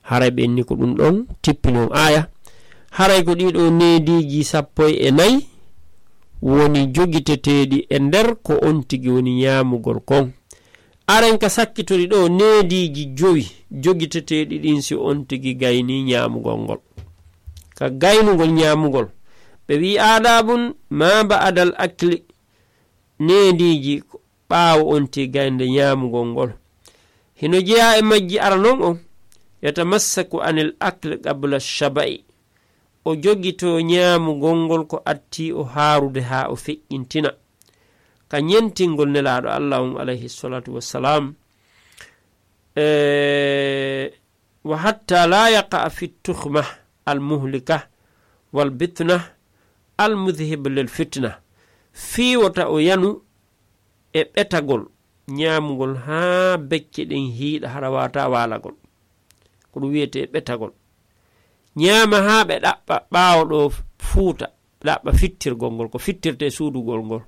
Haray ɓen ni ko ɗum ɗon tippinon aaya. Haray ko ɗiɗo neediiji sappo e nayi woni jogiteteeɗi e nder ko on tigi woni ñaamugol kon. Aren ka sakkitori ɗo neediiji jowi jogiteteeɗi ɗin si on tigi gaynii ñaamugol ngol. Ka gaynugol ñaamugol, ɓe wi'i, "Aadaabun maa ba'adal akli", neediiji ko ɓaawo on tigi gaynde ñaamugol ngol. Hino jeyaa e majji, ara non on, "Yatamassaku anil akli qabla shaba'i", o jogitoo ñaamugol ngol ko attii o haarude haa o feƴƴintina. Ka ñentingol Nelaaɗo Alla on, alayhi salatu wassalam, e, "Wa hatta la yaqa fi tuhma al muhlika wal bitna al mudhhib lil fitna." Fii wota o yanu e ɓetagol, ñaamugol haa becce ɗen hiiɗa, hara waawataa waalagol. Ko ɗum wiyetee ɓetagol. Ñaama haa ɓe ɗaɓɓa ɓaawo ɗo fuuta, ɓe ɗaɓɓa fittirgol ngol, ko fittirtee suudugol ngol.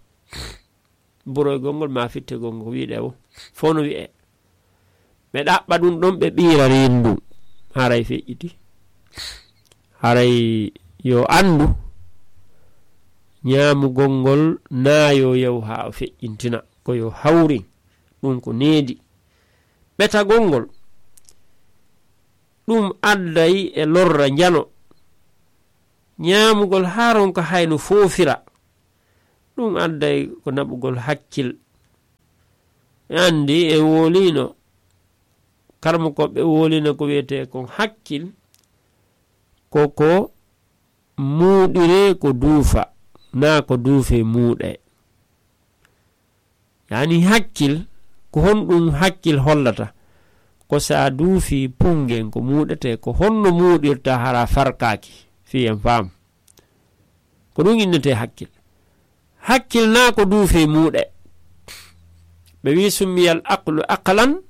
Buroygol ngol maa fittirgol ngol, ko wi'etee wo. Fof no wi'ee. Ɓe ɗaɓɓa ɗum ɗon, ɓe ɓiira reendu ndun. Haray feƴƴiti. Haray yo anndu, ñaamugol ngol naa yo yahu haa o feƴƴintina. Ko yo hawrin. Ɗum ko needi. Ɓetagol ngol, Ɗum adday e lorra njano. Ñaamugol haa ronka hayno foofira. Ɗum adday ko naɓugol hakkil. Anndi e woliino, karmo ko ɓe woliino ko wiyetee kon hakkil, ko ko muuɗiree ko duufa, naa ko duufee muuɗee. Yaani hakkil, ko honɗum hakkil hollata? Ko so a duufii pungen ko muuɗetee, ko honno muuɗirta hara farkaaki? Fii en faam. Ko ɗum innetee hakkil. Hakkil naa ko duufee muuɗe. Ɓe wi summiyal aqlu aqlan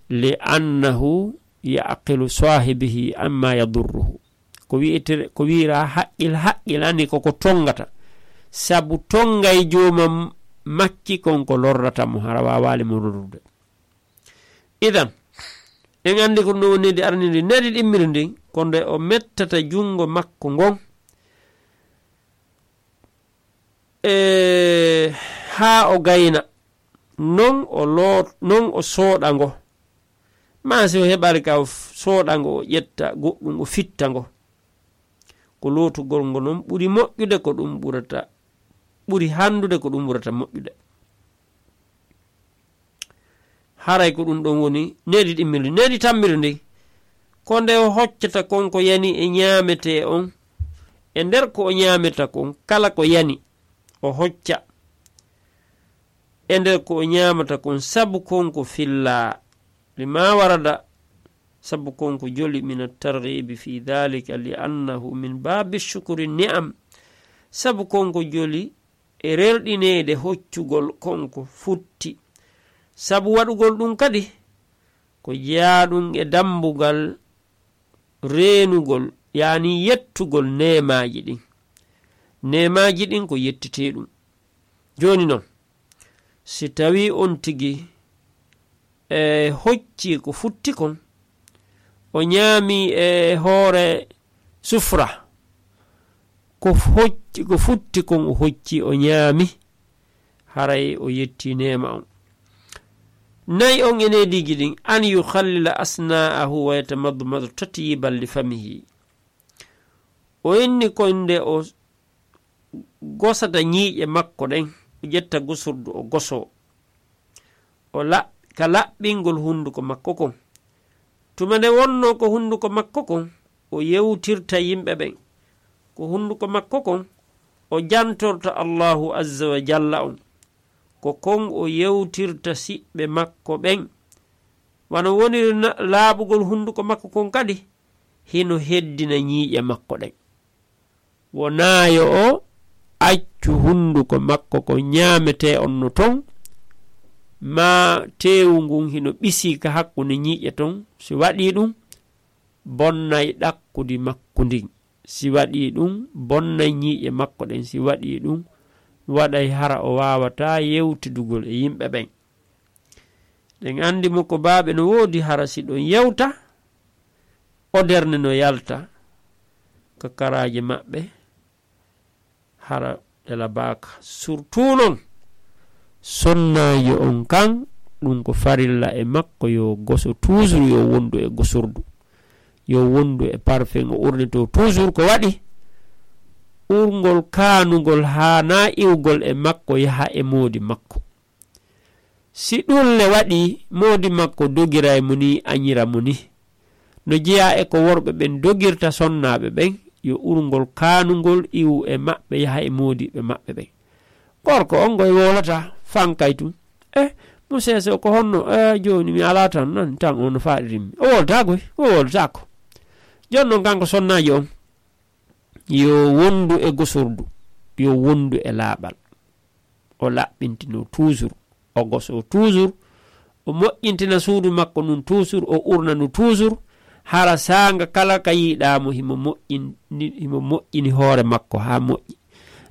li annahu yaqilu saahibihi amma yadurruhu. Ko wi'ete, ko wi'ira haqqil, haqqilani ko ko tongata. Sabu tongay jooma makki kon ko lorrata mo, hara waawaali mo lorrude. Idan, en anndi ko ɗum woni nedi arnindi, nedi ɗimmiri ndin, ko nde o mettata junngo makko ngon, e, haa o gayna, non o loo-, non o sooɗa ngo. Maa si o heɓaali ka o f-, sooɗa ngo, o ƴetta goɗɗum, o fitta ngo. Ko lootugol ngo non ɓuri moƴƴude ko ɗum ɓurata, ɓuri hanndude ko ɗum ɓurata moƴƴude. Haray ko ɗum ɗon woni nedi ɗimmiri, nedi tammiri ndi. Ko nde o hoccata kon ko yani e ñaametee on, e nder ko o ñaameta kon, kala ko yani, o hocca. E nder ko o ñaamata kon, sabu kon ko fillaa. Lima warada, sabu kon ko joli, min at-targhibi fi dhalika, li annahu min babi shukri ni'am. Sabu kon ko joli e rerɗineede hoccugol kon ko futti. Sabu waɗugol ɗum kadi, ko jeyaaɗum e dambugal reenugol, yaani yettugol neemaaji ɗin. Neemaaji ɗin ko yettitee ɗum. Jooni non, si tawii on tigi e hocci ko futti kon, o ñaami e hoore sufra, ko hocci, ko futti kon o hocci, o ñaami, haray o yetti neema on. Nayi on e neediiji ɗin, an yukhallila asna'ahu wa yatamadmadu tatyiban li famihi. O inni ko nde o gosata ñiiƴe makko ɗen, o ƴetta gosordu o gosoo. O laɓ-, ka laɓɓingol hunduko makko kon. Tuma nde wonnoo ko hunduko makko kon, o yewtirta yimɓe ɓen. Ko hunduko makko kon, o jantorta Allahu azza wa jalla on. Ko kon o yewtirta siɓɓe makko ɓen. Wano woniri na-, laaɓugol hunduko makko kon kadi, hino heddina ñiiƴe makko ɗen. Wonaa yo o accu hunduko makko ko ñaametee on no ton, maa teewu ngun hino ɓisii ka hakkunde ñiiƴe ton. Si waɗii ɗum, bonnay ɗakkudi makko ndin. Si waɗii ɗum, bonnay ñiiƴe makko ɗen. Si waɗii ɗum, waɗay hara o waawataa yewtidugol e yimɓe ɓen. Ɗen anndi mo ko baaɓe no woodi, hara si ɗon yewta, o derne no yalta ka karaaje maɓɓe, hara ɗe labaaka. Surtout non, sonnaajo on kan, ɗum ko farilla e makko, yo goso toujours, yo wondu e gosordu, yo wondu e parfum, o urnitoo toujours. Ko waɗi? Urngol kaanungol haanaa iwgol e makko, yaha e moodi makko. Si ɗun le waɗii, moodi makko dogira e mo ni, añira mo ni. No jeyaa e ko worɓe ɓen dogirta sonnaaɓe ɓen, yo urngol kaanungol iwu e maɓɓe, yaha e moodiɓɓe maɓɓe ɓen. Gorko on ngoy wowlata, fankay tun. "Eh, mo seeso ko honno? Eh, jooni mi alaa tan, nan tan on no faaɗirimmi." O wowlata goy, o wowlataako. Jooni non kanko sonnaajo on, yo wondu e gosordu, yo wondu e laaɓal. O laɓɓintinoo toujours, o gosoo toujours, o moƴƴintina suudu makko ndun toujours, o urna ndu toujours, hara saanga kala ka yiɗaa mo, himo moƴƴin-, himo moƴƴini hoore makko haa moƴƴi.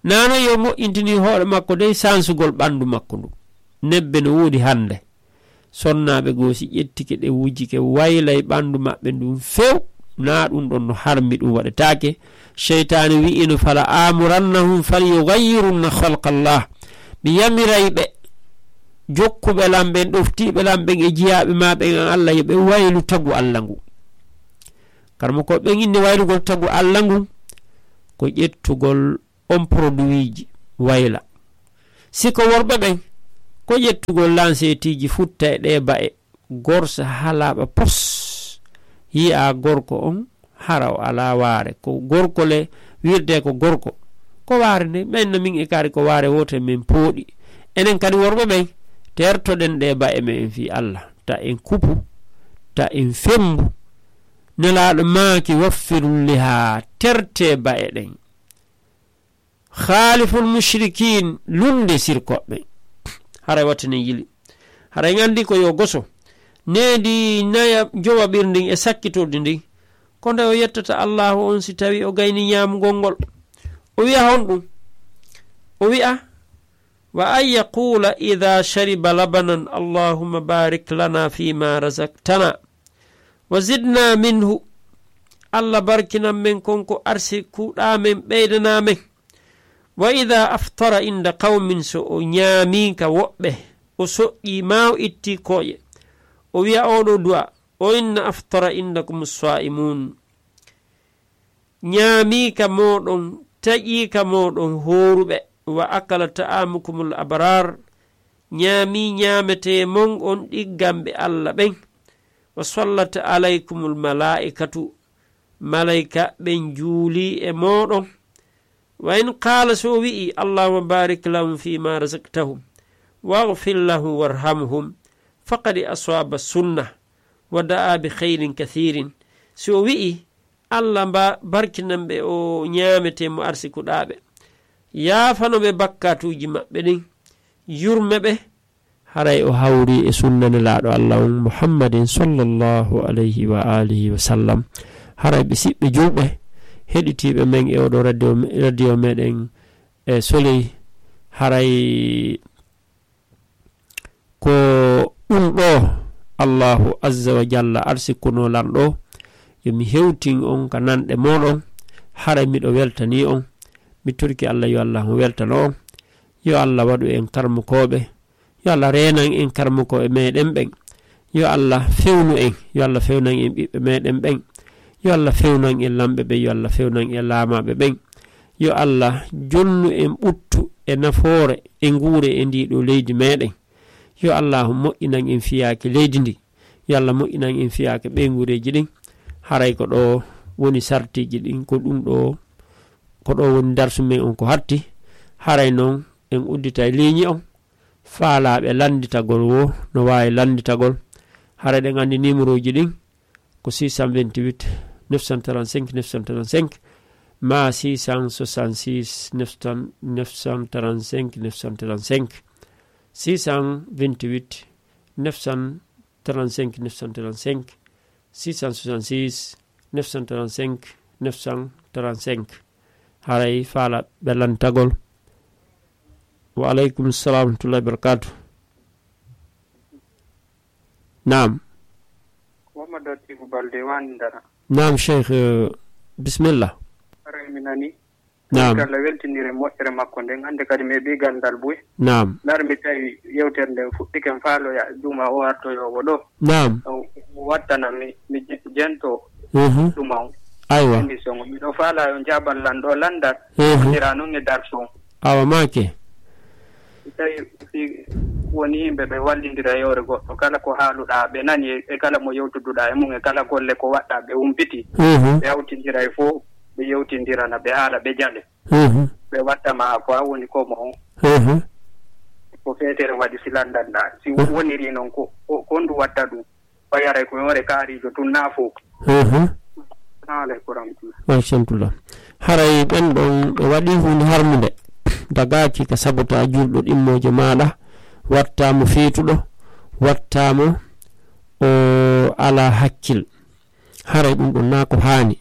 Naano yo moƴƴintini hoore makko dey sansugol ɓandu makko ndu. Nebbe no woodi hannde. Sonnaaɓe goo si ƴettike ɗe wujike, waylay ɓandu maɓɓe ndun few, naa ɗun ɗon no harmi, ɗun waɗetaake. Seytaane wi'ino, "Fala amurannahum falyughayyirunna khalqallah." Mi yamiray ɓe, jokkuɓe lan ɓen, ɗoftiiɓe lan ɓen e jiyaaɓe maa ɓen an Alla, yo ɓe waylu tagu Alla ngu. Karmokooɓe ɓen inni waylugol tagu Alla ngun ko ƴettugol on produitji wayla. Si ko worɓe ɓen, ko ƴettugol lanseetiiji futta e ɗee ba'e, gorsa halaaɓa pos. Yi'a gorko on, hara o alaa waare. Ko gorko le, wirde ko gorko. Ko waare nde, men no min e kaari ko waare woote men pooɗi. Enen kadi worɓe ɓen, tertoɗen ɗee ba'e men fii Alla. Ta en kupu, ta en fembu. Nelaaɗo maaki, "Waffirul liha, tertee ba'e ɗen." "Khaaliful mushrikiin, lunnde sirkooɓe." Haray wattinen yili. Haray en anndi ko yo goso. Needi naya jowaɓirndi e sakkitordi ndi. Ko nde o yettata Allaahu on si tawi o gayni ñaamugol ngol. O wi'a honɗum? O wi'a, "Wa an yaquula idaa shariba labanan, Allahumma baarik lana fiima razaqtana." "Wa zidna minhu." Alla barkinan men kon ko arsikuɗaa men, ɓeydanaa men. "Wa idaa aftara inda qawmin," so o ñaamii ka woɓɓe, o soƴƴii maa o ittii kooƴe, o wi'a oo ɗoo du'a, "O inna aftara indakum saa'imuun." Ñaamii ka mooɗon, taƴii ka mooɗon hooruɓe, "Wa akala ta'aamukumul abraar," ñaamii ñaametee mon on ɗigganɓe Alla ɓen, "Wa sallat alaykumul malaa'ikatu," malayka ɓen juulii e mooɗon. "Wa in qaala," so o wi'i, "Allahumma baarik lahum fiima razaqtahum, waghfir lahum warhamhum," faqad aswaaba sunna, "wa da'a bi khayrin kathiirin." Si o wi'i, "Alla mba-, barkinan ɓe o ñaametee mo arsikuɗaa ɓe. Yaafano ɓe bakkaatuuji maɓɓe ɗin. Yurme ɓe." Haray o hawri e sunna Nelaaɗo Alla on Muhammadin sallallahu alayhi wa alihi wa sallam. Haray ɓe siɓɓe juulɓe, heɗitiiɓe men e oɗo radio, radio meɗen e Soleil. Haray ko ɗum ɗo Allahu azza wa jalla arsikunoo lan ɗo, yo mi hewtin on ka nanɗe mooɗon, haray miɗo weltanii on. Mi torike Alla yo Alla on weltano on. Yo Alla waɗu en karmukooɓe. Yo Alla reenan en karmukooɓe meɗen ɓen. Yo Alla fewnu en. Yo Alla fewnan en ɓiɓɓe meɗen ɓen. Yo Alla fewnan en lamɓe ɓen. Yo Alla fewnan en laamaaɓe ɓen. Yo Alla jonnu en ɓuttu e nafoore e nguure e ndii ɗoo leydi meɗen. Yo Allaahu moƴƴinan en fiyaake leydi ndi. Yo Alla moƴƴinan en fiyaake ɓeynguureeji ɗin. Haray ko ɗoo woni sartiiji ɗin, ko ɗum ɗoo, ko ɗoo woni darsu men on ko hatti. Haray non en udditay liiñi on. Faalaaɓe lannditagol woo no waawi lannditagol. Haray ɗen anndi niimorooji ɗin ko six cent vingt-huit, neuf cent trente-cinq, neuf cent trente-cinq, maa six cent soixante-six, neuf cent, neuf cent trente-cinq, neuf cent trente-cinq, six cent vingt-huit, neuf cent trente-cinq, neuf cent trente-cinq, six cent soixante-six, neuf cent trente-cinq, neuf cent trente-cinq. Haray faalaaɓe lannditagol. Wa aleykum salam wa rahmatullahi wa barakatuh. Naam. Ko Mamadou Habibu Balde woni Ndara. Naam, Cheikh, eh, bismillah. Haray mi nani. Naam. Kala weltinire moƴƴere makko nden, hannde kadi mi heɓi ganndal buy. Naam. Ndar mi tawi yewtere nden fuɗɗike, mi faaloya juma o artoyoowo ɗo. Naam. O wattana mi, mi je-, jento Mhm. ɗuma on. Aywa. Émission o. Miɗo faala yo jaabal lan ɗo lanndal. Mhm. Wonira non e darsu on. Awa maake. Si tawi si woni yimɓe ɓe wallindira e hoore goɗɗo, kala ko haaluɗaa, ɓe nani e, e kala mo yewtuduɗaa e mum, e kala golle ko waɗɗaa, ɓe humpiti, Mhm. ɓe hawtindira e fof, ɓe yewtindirana, ɓe haala, ɓe jale. Mhm. Ɓe watta ma ko a woni ko mo on. Mhm. Ko feetere waɗi si landanɗaa. Si Mhm. woniri noon ko, ko, ko ndu watta ɗum. O yaray ko yoore kaariijo tun naa fof. Mhm. Salamu aleykum wa rahmatullah. Wa rahmatullah. Haray ɓen ɗon ɓe waɗi huunde harmunde. Dagaaki ka sabota julɗo ɗimmoojo maaɗa, watta mo feetuɗo, watta mo o alaa hakkil. Haray ɗum ɗon naa ko haani.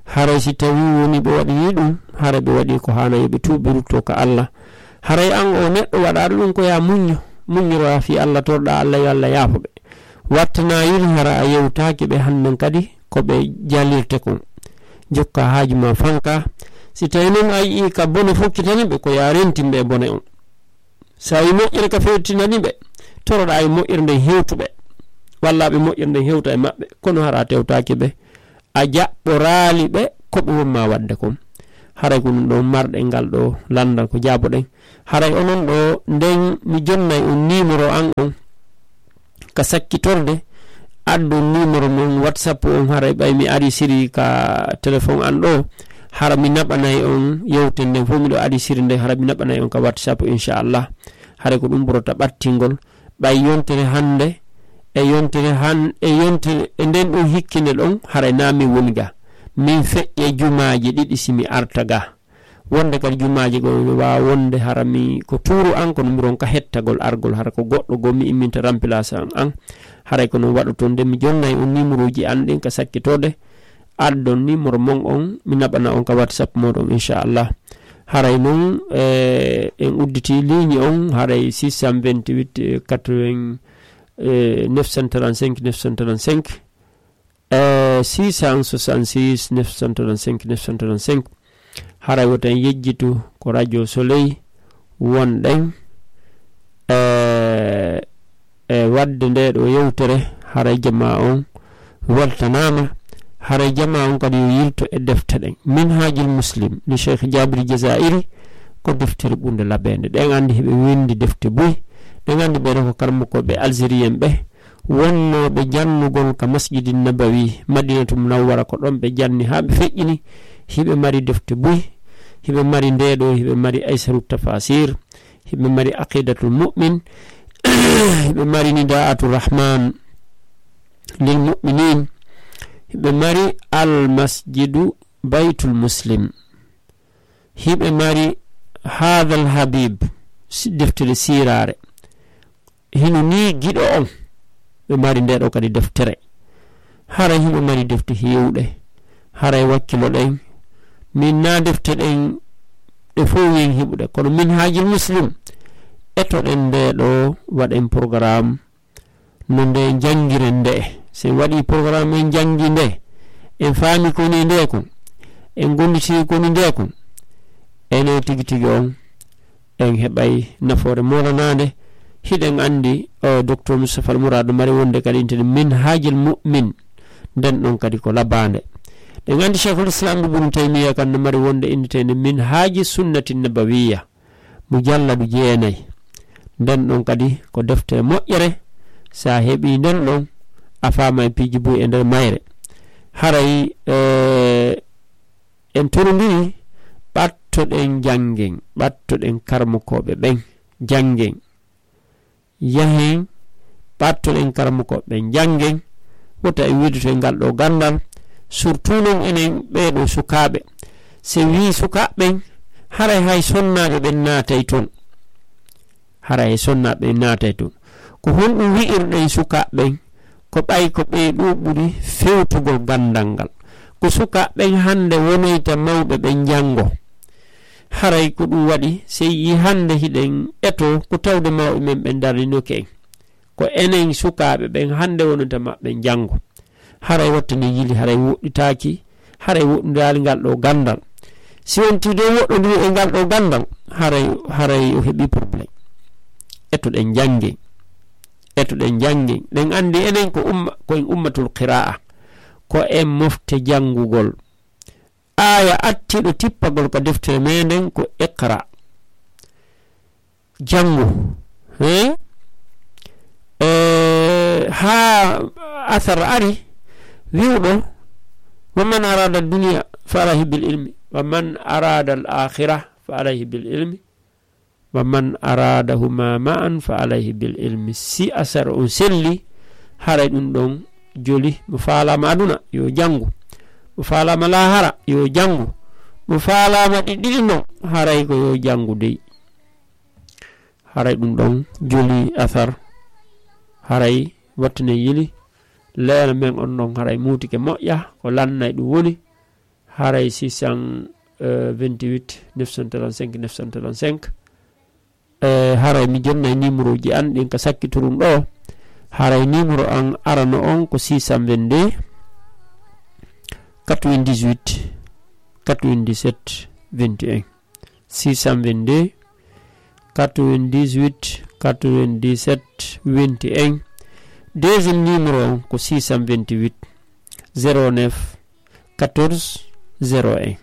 Haray si tawii woni ɓe waɗii ɗum, haray ɓe waɗii ko haana, yo ɓe tuuɓ, ɓe ruttoo ka Alla. Haray an oo neɗɗo waɗaaɗo ɗum ko yaa muñño, muññoroyaa fii Alla, torɗaa Alla yo Alla yaafo ɓe. Watta naa yili hara a yewtaaki ɓe hannden kadi ko ɓe jalirte kon. Jokkaa haaju maa fankaa. Si tawii non a yi'ii ka bone fokkitani ɓe, ko yaa rentin ɓe e bone on. Si a yii moƴƴere ka fewtinani ɓe, toroɗaa e moƴƴere nden hewtu ɓe. Wallaa ɓe moƴƴere nden hewta e maɓɓe, kono hara a tewtaaki ɓe. a jaɓɓoraali ɓe ko ɓe wonma waɗde kon. Haray ko ɗum ɗo marɗen ngal ɗo lanndal ko jaaboɗen. Haray onon ɗo nden mi jonnay on numéro an on ka sakkitorde, addon numéro mon WhatsApp on, haray ɓay mi ari siri ka téléphone an ɗo, hara mi naɓanay on yewtere nden fof, miɗo ari siri nde, hara mi naɓanay on ka WhatsApp, inchallah. Haray ko ɗum ɓurata ɓattingol, ɓay yontere hannde, e yontere han-, e yontere, e nden ɗon hikkinde ɗon, haray na min woni ga. Min feƴƴe jumaaji ɗiɗi si mi arta ga. Wonde kadi jumaaji goo mi waawa wonde hara mi ko tuuru an, kono mi ronka hettagol argol, hara ko goɗɗo goo mi imminta remplaçant an. Haray ko non waɗoton de, mi jonnay on numéroji an ɗin ka sakkitode. Addon numéro mon on, mi naɓana on ka WhatsApp moɗon, inchallah. Haray non, eh, en udditi ligne on, haray six cent vingt-huit, eh, quatre-vingts, eh, neuf cent trente-cinq, neuf cent trente-cinq, eh, six cent soixante-six, neuf cent trente-cinq, neuf cent trente-cinq. Haray woto en yejjitu ko Radio Soleil wonɗen, eh, e waɗde nde ɗo yewtere, haray jamaa on weltanaama, haray jamaa on kadi yo yilto e defte ɗen. Minhajul Muslim li Cheikh Jabir Jazairi, ko deftere ɓurnde laɓeende. Ɗen anndi heɓe winndi defte buy, ɗen anndi ɓeɗo ko karmokooɓe algérien ɓe, wonnooɓe jannugol ka Masjidi Nabawi, Madinatu Munawwara, ko ɗon ɓe janni haa ɓe feƴƴini. Hiɓe mari defte buy, hiɓe mari nde ɗo, hiɓe mari Aysaru Tafasir, hiɓe mari Aqidatul Mu'min, hiɓe mari Nida'atul Rahman lil Mu'minin, hiɓe mari Al Masjidu Baytul Muslim, hiɓe mari Hadal Habib, si-, deftere siiraare. Hino ni giɗo on, ɓe mari nde ɗo kadi deftere. Haray hino mari defte heewɗe. Haray wakkilo ɗen, min na defte ɗen ɗe fow yen heɓude, kono Minhajul Muslim, etoɗen nde ɗo, waɗen programme no nde janngiren nde. Si en waɗi programme, en janngi nde, en faami ko woni nde kon, en gonditi ko woni nde kon, ene tigi tigi on, en heɓay nafoore moolanaande. Hiɗen anndi, o, Docteur Moustapha Al Mourad mari wonde kadi intene Minhajul Mu'min, nden ɗon kadi ko labaande. Ɗen anndi Cheikhul Islam Ibn Taymiya kan no mari wonde inniteende Minhaji Sunnati Nabawiya, mujalladu jeenay. Nden ɗon kadi ko deftere moƴƴere, sa heɓi nden ɗon, a faamay piiji buy e nder mayre. Haray, eh, en torondiri, ɓattoɗen janngen, ɓattoɗen karmokooɓe ɓen, janngen. Yahen, ɓattoɗen karmokooɓe ɓen, janngen. Wota en wiidoto e ngal ɗo ganndal, surtout non enen ɓee ɗo sukaaɓe. Se wii sukaaɓe ɓen, haray hay sonnaaɓe ɓen naatay ton. Haray hay sonnaaɓe ɓen naatay ton. Ko honɗum wi'irɗen sukaaɓe ɓen? Ko ɓay ko ɓee ɗoo ɓuri fewtugol ganndal ngal. Ko sukaaɓe ɓen hannde wonoyta mawɓe ɓen janngo. Haray ko ɗum waɗi, sey yi hannde hiɗen eto ko tawde mawɓe men ɓen darninoke en. Ko enen sukaaɓe ɓen hannde wonata maɓɓe janngo. Haray watta ne yili, haray woɗɗitaaki, haray woɗɗondiral ngal ɗo ganndal. Si wontii dow woɗɗondiri e ngal ɗo ganndal, haray, haray o heɓi problème. Etoɗen jannge, etoɗen jannge. Ɗen anndi enen ko umma, ko en ummatul qira'a, ko en mofte janngugol. Aaya attiiɗo tippagol ka deftere meɗen ko iqra. Janngu. He? Eh, haa asar ari wi'uɗo, "Wa man arada dunya fa alayhi bil ilmi, wa man arada al akhirah fa alayhi bil ilmi, wa man aradahuma ma'an fa alayhi bil ilmi." Si asar on selli, haray ɗum ɗon joli. Mo faalaama aduna, yo janngu. Mo faalaama laahara, yo janngu. Mo faalaama ɗi ɗiɗi non, haray ko yo janngu dey. Haray ɗum ɗon joli asar. Haray wattane yili. Leena men on ɗon haray muutike moƴƴa, ko lannay ɗum woni. Haray six cent vingt-huit neuf cent trente-cinq neuf cent trente-cinq. Eh, haray mi jonnay numéro ji an ɗin ka sakkitorum ɗo. Haray numéro an arano on ko six cent vingt-deux quatre-vingt-dix-huit quatre-vingt-dix-sept vingt et un. Six cent vingt-deux quatre-vingt-dix-huit quatre-vingt-dix-sept vingt et un. Deuxième numéro on ko six cent vingt-huit zéro neuf quatorze zéro un,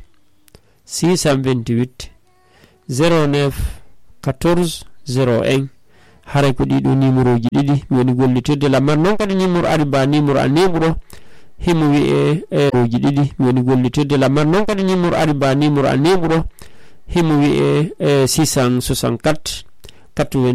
six cent vingt-huit zéro neuf quatorze zéro un. Haray ko ɗiɗo numéroji ɗiɗi mi woni gollitirde lamar. Noon kadi numéro ari ba numéro a neɓuɗo, himo wiye, e, oji ɗiɗi mi woni gollitirde lamar. Noon kadi numéro ari ba numéro a neɓuɗo, himo wiye, e, six cent soixante-quatre quatre-vingt